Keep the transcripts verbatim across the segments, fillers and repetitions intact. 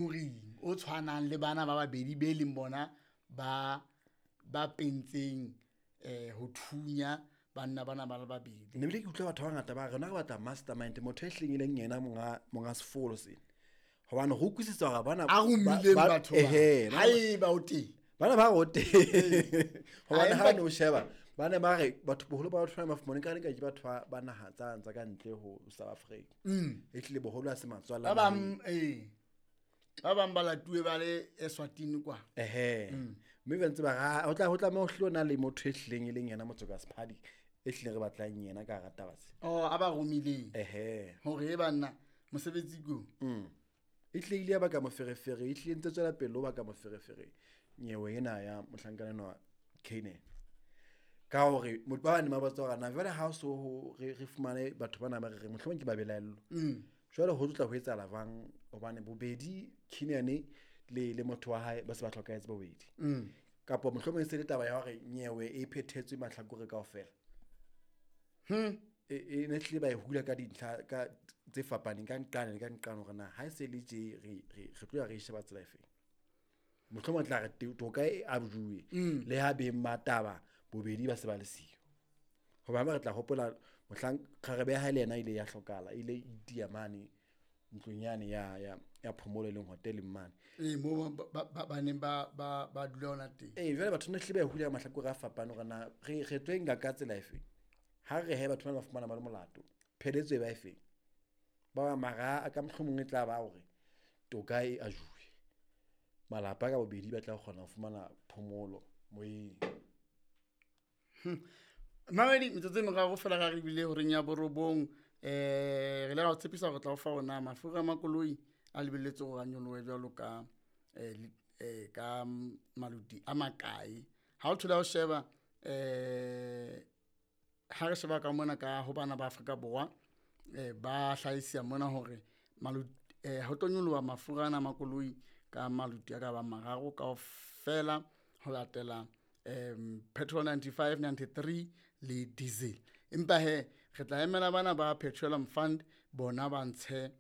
Moring o tshwanang le bana ba babedi be leng bona ba ba pentseng eh ho thunya banna bana ba le babedi. Ne bile ke utlwa batho ba bangata ba re rona re batla mastermind, motho e hleng e leng yena monga monga sefolo sena. Hobane re utlwisisa hore bana A romileng batho ba. Ehe, ba- Haeba o teng. Bana ba re o teng. Hobane Empa ha ne o sheba ba ne ba re batho boholo ba batho ba ba fumane ka ka ke batho ba ba naha tsa tsa ka ntle ho South Africa. E hlile boholo ha se matswalla. Ba bang eh ba bang ba latuwe ba le Eswatini kwa. Ehe. Mme ba ntse ba ra ho tla ho tlameha ho hlile ho na le motho e hlileng e leng yena motho ka sephadi e hlileng re batlang yena ka hara taba tse. Oh a ba romileng. Ehe. Hore e banna mosebetsi ko. Mm. E hlile ile ya baka moferefere, e hlile ntse tswela pele ho baka moferefere nyewe ena ya mohlankana enwa Kiernan. Ka hore motho ba bane ba botsa hore na jwale ha o so ho re re fumane batho bana ba re reng mohlomong ke ba belaellwa. Mm. Jwale ho tlo tla ho etsahala jwang hobane bobedi Kiernan le le motho wa hae ba se ba hlokahetse bobedi. Mm. Kapa mohlomong e se le taba ya hore nyewe e phethetswe mahlakore kaofela. Hmm. E e ne hlile ba e hula ka dintlha ka tse fapaneng ka nqane le ka nqane hore na ha e se le tje re re re tlo ya re e sheba tsela efeng. Mohlomong tla re toka e abjuwe Mm. le ha beng ba taba bobedi ba se ba le siyo. Hoba re tla hopola mohlang kgarebe ya hae le yena ile ya hlokahala, ile itia mane ntlong yane ya ya ya phomolo e leng hoteleng mane. Eh mo ba ba ba neng ba ba ba dula hona teng. Eh jwale batho ne hlile ba e hula mahlakore a fapane hore na re re tlo e nka ka tsela efeng. Ha re he batho bana ba fumana ba le molato, pheletso e ba efeng. Ba bang mara a ka mohlomong e tla ba hore toka e ajuwe. Malapa ka bobedi ba tla kgona ho fumana phomolo moyeng. Mamedi metsotso e meraro fela ra re bile horeng ya borobong eh re ile ra o tshepisa hore tla o fa ona mafura a makoloi a lebelletse hore a nyolohe jwalo ka eh eh ka maluti a makae. Ha o thola o sheba eh ha re sheba ka mona ka ho bana ba Afrika Borwa eh ba hlahisa mona hore maluti eh ho tlo nyoloha mafura ana a makoloi ka maluti a ka bang mararo kaofela ho latela um petrol ninety-five, ninety-three le diesel. Empa he re tla emela bana ba Petroleum Fund bona ba ntshe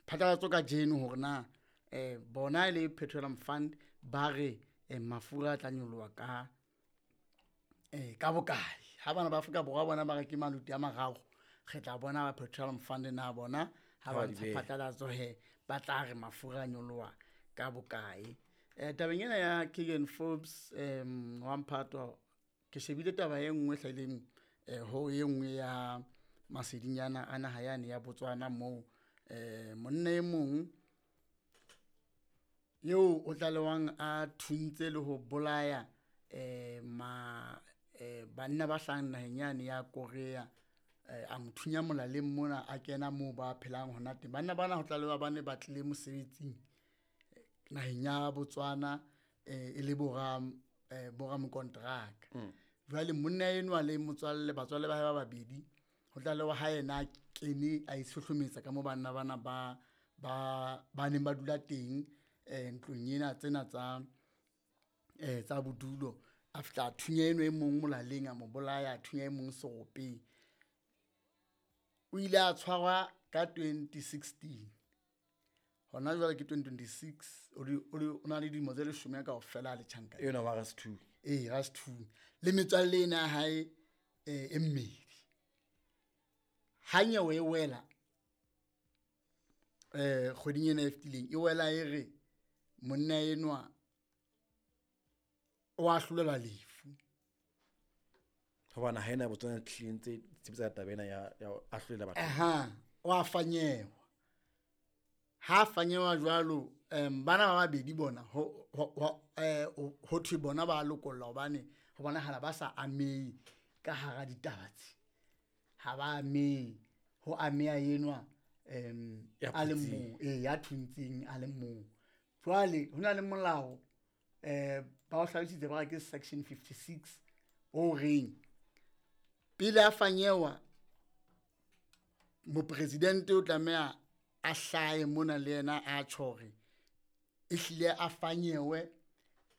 phatlalatso kajeno hore na eh bona e le Petroleum Fund ba re eh, mafura a tla nyoloha ka eh ka bokae. Ha bana ba Afrika Borwa bona ba re ke maluti a mararo, re tla bona ba Petroleum Fund na bona ha ba Ha ba di ntsha beha. phatlalatso he ba tla re mafura a nyoloha ka bokae. Eh tabeng ena ya Keegan Forbes em wa Mphato ke shebile taba e nngwe hlahileng eh ho e nngwe ya masedinyana a naha yane ya Botswana moo eh monna e mong eo o tlalewang a thuntse le ho bolaya eh ma eh banna ba hlahang naheng yane ya Korea eh a mo thunya molaleng mona a kena moo ba phelang hona teng. Banna bana ho tlalewa ba ne ba tlile mosebetsing naheng ya Botswana eh e le bora eh bora mokontraka. Mm. Jwale monna enwa le motswalle batswalle ba hae ba babedi ho tlalewa ha yena a kene a itshohlometsa ka mo banna bana ba ba ba neng ba dula teng eh ntlong ena tsena tsa eh tsa bodulo. A fihla a thunya eno e mong molaleng a mo bolaya, a thunya e mong seropeng. O ile a tshwarwa ka twenty sixteen. Hona jwale ke twenty twenty-six, o di, o di, o na le dilemo tse leshome kaofela a le tjhankaneng. Ena wa Rasethunya. Ee, Rasethunya. Le metswalle ena ya hae, eh, e mmedi. Ha nyewe e wela, eh, kgweding ena e fetileng, e wela e re monna enwa o ahlolelwa lefu. Hobane ha ena Botswana hlile ntse tshepisa taba ena ya, ya ho ahlolela batho. Aha, o a fanyewa. Ha fanyewa jwalo, em, bana ba babedi bona, ho, ho, ho, eh, ho thwe bona ba lokollwa hobane ho bonahala ba sa amehe ka hara ditaba tse. Ha ba amehe, ho ameha enwa, em, Ya a le phuntseng. mong, ee, ya thuntseng a le mong. Jwale ho na le molao, eh, ba o hlalositse ba re ke section fifty-six o reng pele a fanyewa mopresidente o tlameha a hlahe mona le yena a tjho hore ehlile a fanyewe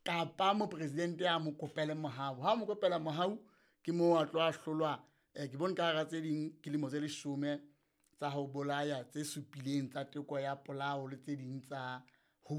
kapa mopresidente a mo kopele mohau. Ha mo kopela mohau ke moo a tlo ahlolwa, eh, ke bone ka hara tse ding ke lemo tse leshome tsa ho bolaya tse supileng tsa teko ya polao le tse ding tsa ho